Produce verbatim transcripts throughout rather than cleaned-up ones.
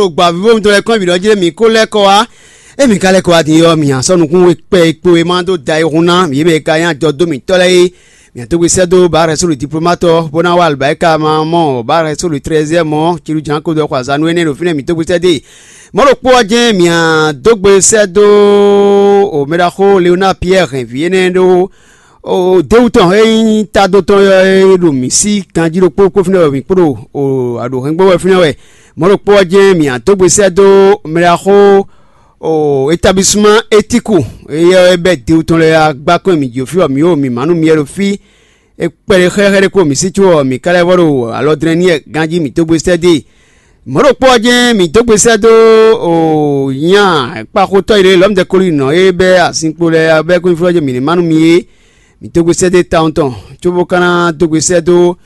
Ɖo gbǎvívo mitɔn lɛ́ɛ kɔn bǐ ɖɔ jí mǐ ko lɛ́ kɔ wá. Ée mǐ ka lɛ́ kɔ wá din ɔ́, mǐ nya sɔ́ nukún we kpɛ e kpo e ma dó da e hun ná yě mɛ e ka nyí ajɔdó mǐtɔn lɛ́ɛ é. Mǐ nya dó gbe sɛ́ dó Baarɛ́ Sólu diplomátɔ bó ná wá alibáyíká ma mɔ Baarɛ́ Sólu trɛzɛ́ mɔ Cilu Jǎn ko dó xɔ azǎn nú énɛ́ ɖo fínɛ́ mǐ dó gbe sɛ́ dó e. Mɔ̌ ɖokpó ɔ́ jɛ́n mǐ nya dó gbe sɛ́ dó o mɛɖaxó Leonáa Piyɛ́ɛ hɛn vǐ énɛ́ ɖó o déwú tɔn e nyí tado tɔn ɔ́ e ɖo mǐ sí ganjí ɖokpó kpó fínɛ́ wɛ mǐ kpo ɖo o aɖǒhɛngbó wɛ fínɛ́ wɛ. Mɔ̌ ɖokpó ɔ́ jɛ́n mǐ nya dó gbe sɛ́ dó mɛɖaxó o établissemán étiku, éyɛ́ ɔ́ é bɛ́ dewu tɔn lɛ́ɛ agbákɔn e mǐ jǒ fí bɔ mǐ ɖo mǐmá nú miyɛ́ ɖo fí. É kpɛɖé xlɛ́xlɛ́ ɖé kpo mǐ sí có ɔ́, mǐ ka lɛ́ vɔ ɖo alɔdlɛ́n n'i wɛ ganjí mǐ dó gbe sɛ́ dó e. Mɔ̌ ɖokpó ɔ́ jɛ́n mǐ dó gbe sɛ́ dó o nya kpaxotɔ́ e ɖo Lɔ̌mudɛ́kólínɔ e bɛ́ azinkpo lɛ́ɛ bɛ́ kúnfúnɔ jɛ́n mǐ ní má nú mi é. Mǐ dó gbe sɛ́ dó e tawun tɔn, cóbó ka ná dó gbe sɛ́ dó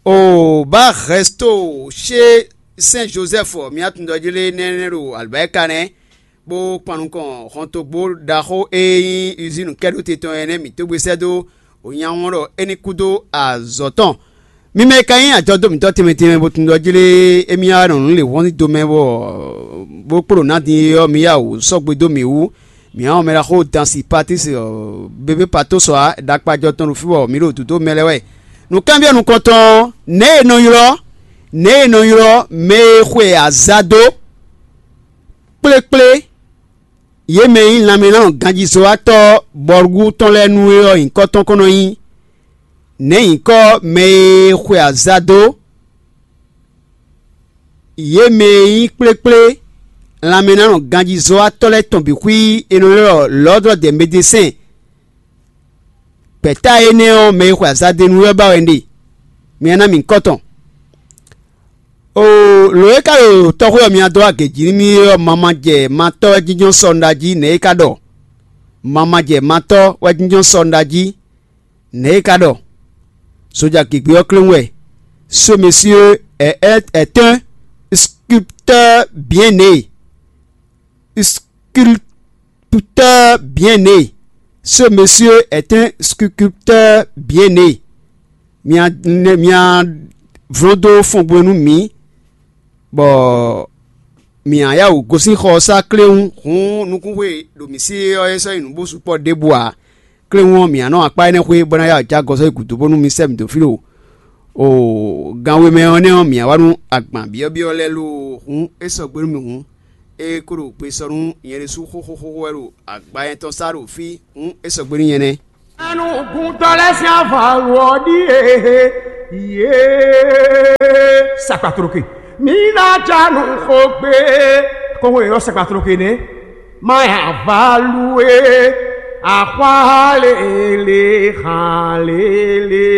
o Barɛ́sto cé Sɛ́n Jozɛ́fu, mǐ atundɔjí lé nɛ́nɛ́ ɖo alibáyíká nɛ́, bó kpan nukɔn hɔntogbó ɖaxó e nyí Uzínu kɛ́ɖóte tɔn é nɛ́ mǐ tógbé sɛ́ dó wǒnyáwɔ́n ɖɔ é ní kú dó azɔ̌ tɔn. Mi mɛ e ka nyí ajɔdó mǐtɔn tɛnmɛ tɛnmɛ bo tunwun ɖɔ jlé émí wá nɔ nǔ lě hɔn do mɛ bɔ bó kpo ɖo nǎ din é ɔ́, mi yá wǔ sɔ́ gbe dó mǐ wú. Mǐ hán mɛ ɖaxó dan Sipatísi bébé Patósɔ ǎ, ɖakpajɔ tɔn ɖo fí bɔ mǐ ɖo dǒdó mɛ lɛ́ɛ wɛ. Nǔkanbyɔ́ nukɔntɔn ɔ́, nɛ̌ è nɔ ylɔ́ nɛ̌ è nɔ ylɔ́ mɛ e xwe azǎ dó kplékplé yě mɛ e nyí lanmɛnánɔ ganjízɔ́watɔ́ bɔlúwú tɔn lɛ́ɛ nu é ɔ́ nyǐkɔ tɔn kɔn nɔ nyí? Nɛ̌ nyǐkɔ mɛ e xwe azǎ dó yě mɛ e nyí kplékplé lanmɛnánɔ ganjízɔ́watɔ́ lɛ́ɛ tɔn bǐ xwí è nɔ ylɔ́ ɖɔ Lɔ̌dlɔ́ dɛ Medesɛ́n? Gbɛ̌ta énɛ́ ɔ́, mɛ e xwe azǎ dó e nu wɛ ba wɛ un ɖe; mi ná ná mì nyǐkɔ tɔn. Oo, lǒ e ka ɖo tɔxwé ɔ́ mǐ dó wá gějí nú mì é ɔ́, mamajɛ matɔ́ wɛ jínjɔ́n sɔ un ɖa jí, nɛ̌ é ka ɖɔ? Mamajɛ matɔ́ wɛ jínjɔ́n sɔ un ɖa jí, nɛ̌ é ka ɖɔ? Soja gěgbe ɔ́ kléwún wɛ. Ce monsieur est, est, est un sculpteur bien né. Sculpteur bien né. Ce monsieur est un sculpteur bien né. Mia mia vlɔ́n dó fɔngbɔn nú mǐ, bɔ mǐ ná yá wǔ gosín xɔ ɔ́ sá kléwún. Hǔn nukúnxwe ɖo mǐ sí ɔ́ é sɔ́ nyí nǔ bó sukpɔ́ ɖěbǔ ǎ. Kléwún ɔ́, mǐ ná nɔ akpá énɛ́ xwé bó ná yá wǔ jɛ agɔsɔ yi gǔdo bónú mi sɛ́ mǐ dó fí ɖo o ganwe mɛ ɔ́ nɛ́ ɔ́, mǐ ná wá nú agban byɔ́byɔ́ lɛ́ɛ lo. Hǔn é sɔgbe nú mì hǔn, é ko ɖo gbe sɔ nú nyɛ ɖésú xóxóxóxó wɛ ɖo agba nyɛ tɔn sá ɖo fí. Hǔn é sɔgbe nú nyɛ nɛ́. Anugúntɔ́ lɛ́ɛ sín avalu ɔ́ ɖíe. Yé sakpatloke. Mǐ ná ja nǔ xo gbé. Kɔngo yě ɖɔ sakpatloke nɛ́. Má avalu é. Axwá lélé, hàn lélé.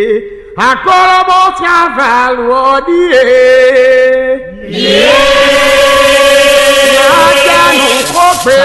Akɔlɔbɔ sín avalu ɔ́ ɖíe. Yé. Mǐ ná ja nǔ xo gbé.